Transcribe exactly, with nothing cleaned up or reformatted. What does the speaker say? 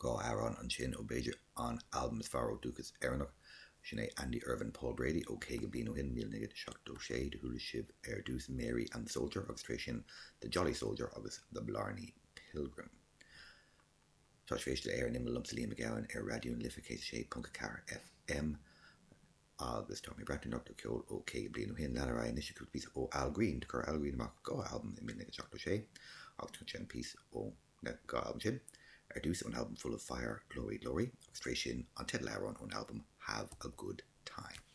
Dhá amhrán ansin ó b'fhéidir an albam is fearr ó dúchas Éireannach, sin é Andy Irvine Paul Brady ó caoga bliain ó shin, míle naoi gcéad seachtó sé. Do chuala sibh ar dtús Mary and the Soldier agus tar éis sin The Jolly Soldier agus The Blarney Pilgrim. Tá sibh ag éisteacht le Ar an Imeall liomsa Liam Mac Gabhann ar Raidió na Life céad a sé ponc a ceathair F M agus tá mé ag breathnú anocht ar cheol ó caoga bliain ó shin. Lean ar aghaidh anois le cúpla píosa ó Al Green. Do chuir Al Green amach dhá albam i míle naoi gcéad seachtó sé agus tá sin píosa ó na dhá albam sin. Ar dtús ón albam Full of Fire, Glory Glory, agus tar éis sin an teideal amhrán ón albam Have a Good Time.